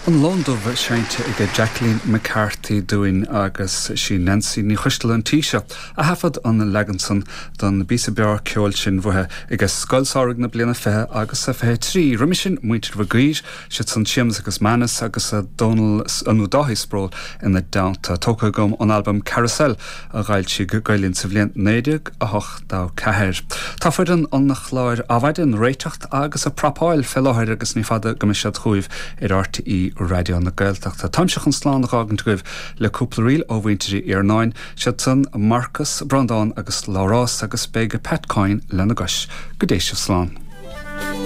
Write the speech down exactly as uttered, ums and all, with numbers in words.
An Lon Dubh seinnte ag Jacqueline McCarthy dúinn agus sí Nancy Ní Choistealbha an tí seo a thaifead an leagan san don bpíosa breá ceoil sin uaithi ag Scoil Samhraidh na bliana fiche agus a fiche trí. Roimhe sin muintir Mhig Uidhir siad san Séamus agus Manus agus a Dónal nó Dáithí Sproule ina dteannta tógtha agam ón albam Carousel a d'fhoilsigh Gael Linn sa bhliain naoi déag a hocht a ceathair. Tá foireann an chláir Adhmhaidin réiteach agus ag prapáil fé láthair agus ní fada go mbeidh siad chugaibh ar RTÉ Raidió na Gaeltachta. Táimse chun slán a fhágaint agaibh le cúpla ríl ó mhuintir Uí Iarnáin, siad san Marcus, Breandán agus Labhrás agus beidh Pat Coyne lena gcois. Go dté sibh slán.